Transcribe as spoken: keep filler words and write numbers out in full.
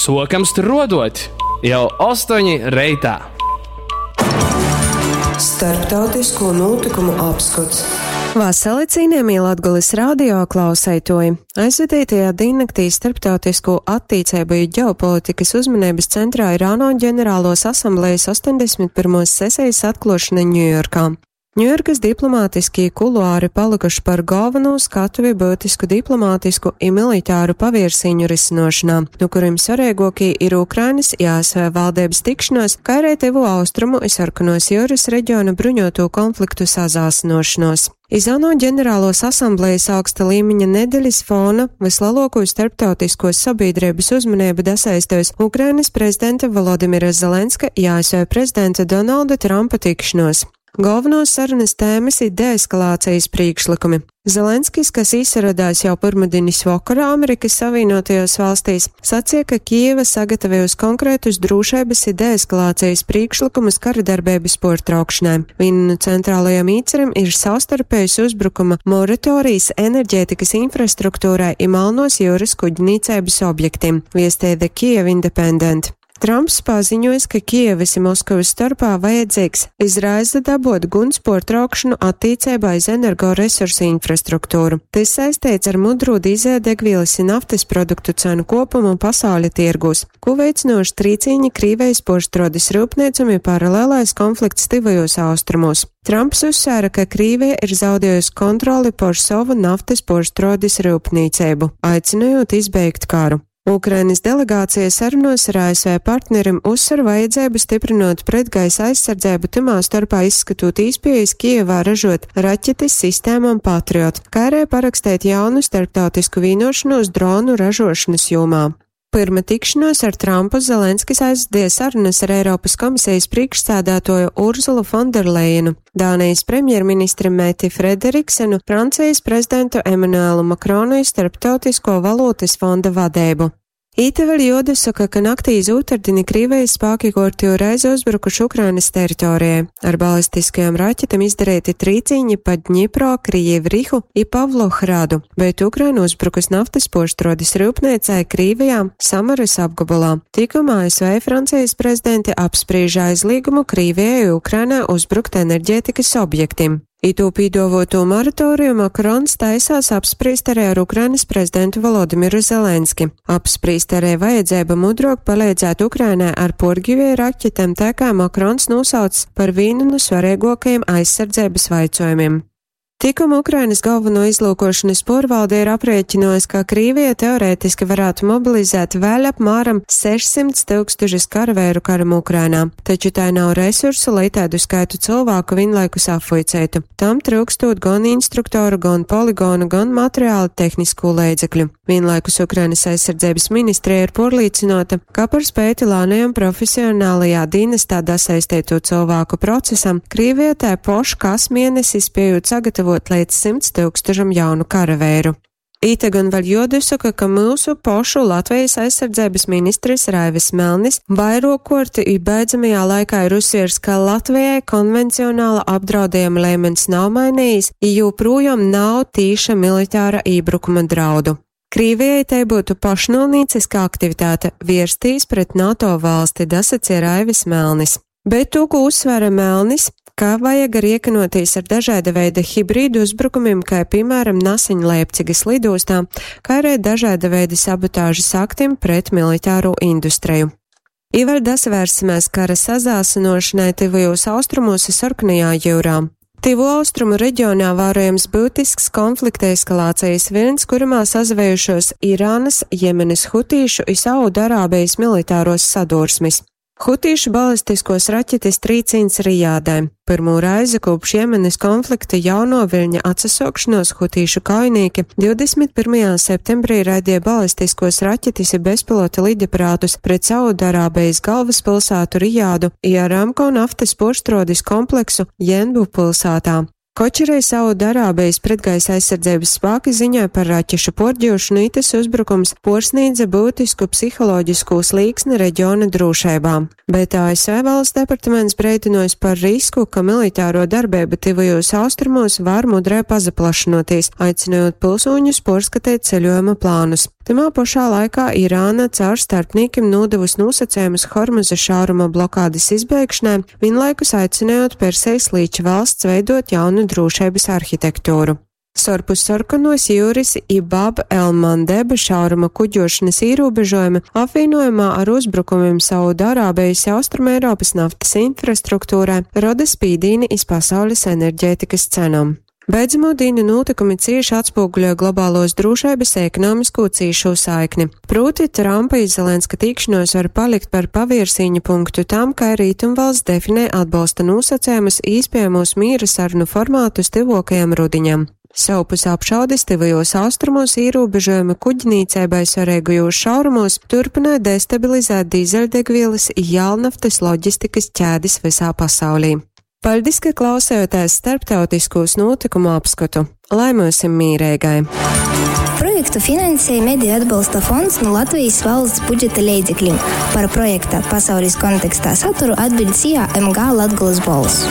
Sokam struodot jau ostoņi reitā. Starptautisko notikumu apskots. Vasali cienījamie Latgulis radio klauseitoji! Aizvadītajā dīnnaktī starptautisko attīcību i ģeopolitikas uzmanības centrā ir ANO ģenerālos asamblejas astoņdesmit pirmos sesijas atklošana Ņujorkā. Ņujorkas diplomātiskie kuluāri palikuši par galveno skatuvi būtisku diplomātisku i militāru paviersīņu risinošanā, no kuriem svarīgākie ir Ukrainas i A S V valdības tikšanos, kā arī Tuvo Austrumu i Sarkanos jūras reģiona bruņoto konfliktu sazāsinošanos. Iz ANO ģenerālos asamblejas augsta līmeņa nedeļas fona vislielāko starptautisko sabiedrības uzmanību dasaistījusi Ukrainas prezidenta Volodimira Zelenska i A S V prezidenta Donalda Trumpa tikšanos. Galvenos sarunas tēmas ir deeskalācijas priekšlikumi. Zelenskis, kas izsaradās jau pirmdienas vakarā Amerikas Savienotajās valstīs, sacīja, ka Kijeva sagatavojusi konkrētus drošības i deeskalācijas priekšlikumus kara darbības portraukšanai. Viena no centrālajiem īceriem ir savstarpējas uzbrukuma moratorijas enerģētikas infrastruktūrai i Melnos jūras kuģnīcības objektiem, viestēja The Kiev Independent. Trumps paziņojis, ka Kijevas un Maskavas starpā vajadzīgs izraisa dabot guns portraukšanu attīcībā iz energoresursu infrastruktūru. Tas saistīts ar mudru dīzeļdegvielas un naftas produktu cenu kopumu pasauļa tirgūs, ko veicinoši trīcīņi Krīvejas porštrodes rūpniecumi paralēlais konflikts tivajos austrumos. Trumps uzsvēra, ka Krīvija ir zaudējusi kontroli pār savu naftas porštrodes rūpniecību, aicinot izbeigt karu. Ukrainas delegācija sarunos ar A S V partnerim uzsver vajadzību stiprinot pretgaisa aizsardzību, timā starpā izskatot īspējas Kijevā ražot raķetes sistēmām Patriot, kā arī parakstīt jaunu starptautisku vienošanos dronu ražošanas jomā. Pirma tikšanos ar Trumpu Zelenskis aizdīja sarunas ar Eiropas komisijas priekšsēdētoju Urzulu Fonderleinu, Dānijas premjerministri Meti Frederiksenu, Francijas prezidentu Emanuelu Makronu i Starptautisko valūtas fonda vadību. Īta vēl jodasaka, ka naktī iz otrdini Krīvijas spēki kortiju reizi uzbrukuši Ukrainas teritorijai. Ar balistiskajām raķetēm izdarīti trīcīņi pa Dņipro, Krijivu i Pavlohradu, bet Ukraina uzbrukus naftas poštrodes rūpniecai Krīvijā, Samaras apgabalā. Tikumā A S V Francijas prezidenti apspriež aizliegumu Krīvijai Ukrainai uzbrukt enerģētikas objektiem. Itū pīdovoto moratoriju Makrons taisās apspriest arī ar Ukrainas prezidentu Volodimiru Zelenski. Apspriest arī vajadzība mudrok palīdzēt Ukrainai ar porgivēju raķetēm, tā kā Makrons nosauc par vienu no svarīgākajiem aizsardzības vaicojumiem. Tikuma Ukrainas galveno izlūkošanas porvalde ir aprēķinojis, ka Krīvija teorētiski varētu mobilizēt vēl apmēram sešsimt tūkstošus karavēru karam Ukrainā, taču tai nav resursu, lai tādu skaitu cilvēku vienlaikus apvuicētu. Tam trūkstot gan instruktoru, gan poligonu, gan materiālu tehnisko līdzekļu. Vienlaikus Ukrainas aizsardzības ministrija ir porlīcinota, ka par spēti lānajam profesionālajā dienestā dasaistīto cilvēku procesam Krīvija tai poš kas mēnesis spējot sagatavot līdz simts tūkstošam jaunu karavēru. Īte gan vēl jodusaka, ka mūsu pošu Latvijas aizsardzības ministrs Raivis Melnis vairokorti i beidzamajā laikā ir uzsviers, ka Latvijai konvencionāla apdraudējuma līmenis nav mainījis, i joprojām nav tīša militāra iebrukuma draudu. Krīvijai tai būtu pašnolnīciska aktivitāte vērstīs pret NATO valsti, dasacīja Raivis Melnis. Bet to, ko uzsvēra Melnis, ka vajag riekinotīs ar dažāda veida hibrīdu uzbrukumiem, kā piemēram Nasiņa Leipcigas lidostā, kā arī dažāda veida sabotāžas aktiem pret militāro industriju. Ivar dasvērsimies kara sazāsinošanai tuvajos austrumos un Sarkanajā jūrā. Tuvo austrumu reģionā vērojams būtisks konflikta eskalācijas vilnis, kurumā sazvējušos Irānas, Jemenes hutīšu un Saudarābijas militāros sadursmes. Hutīšu balistiskos raķetes trīcīns Rijādē. Pirmo reizi kopš Jemenes konflikta jauno viļņa atsasokšanos hutīšu kaujinieki divdesmit pirmajā septembrī raidīja balistiskos raķetes i bezpilota lidaparātus pret Saudarābijas galvaspilsētu Rijādu i Aramco naftas porštrodes kompleksu Jenbu pilsētā. Kočerei Saudarābijas pretgaisa aizsardzības spēki ziņoja par raķešu porģošanu, itas uzbrukums porsnīdza būtisku psiholoģisku slīksni reģiona drošībā. Bet A S V valsts departaments breidinojas par risku, ka militāro darbību tuvajos austrumos var mudrai pazaplašinoties, aicinot pilsoņus porskatīt ceļojuma plānus. Tymā pošā laikā Irāna caur starpnīkim nūdevusi nosacējumus Hormuza šauruma blokādes izbeigšanai, vienlaikus aicinājot Persejas līča valsts veidot jaunu drošības arhitektūru. Sorpus sarkanos jūras i Bab el Mandeba šauruma kuģošanas ierobežojumi apvienojumā ar uzbrukumiem Saudārābijas Austrumēropas naftas infrastruktūrai roda spīdīni iz pasaules enerģētikas cenām. Beidzamo dienu notikumi cieši atspoguļoja globālos drošības ekonomisko cīšu saikni. Proti, Trumpa i Zelenska tikšanos var palikt par pavirsīņu punktu tam, kā Rietumvalsts definē atbalsta nosacējumus īspējamos miera sarunu formātus tuvākajam rudiņam. Savpus apšaudes tuvajos austrumos ierobežojumi kuģnīcībai svarīgajos šaurumos turpināja destabilizēt dīzeļdegvielas i jālnaftas loģistikas ķēdes visā pasaulī. Paldies, ka klausējāties starptautiskos notikumu apskatu. Lai mūsim mīrēgai! Projektu finansēja Mediju atbalsta fonds no Latvijas valsts budžeta leidzekļiem. Par projekta pasaules kontekstā saturu atbild SIA M G Latgulas bols.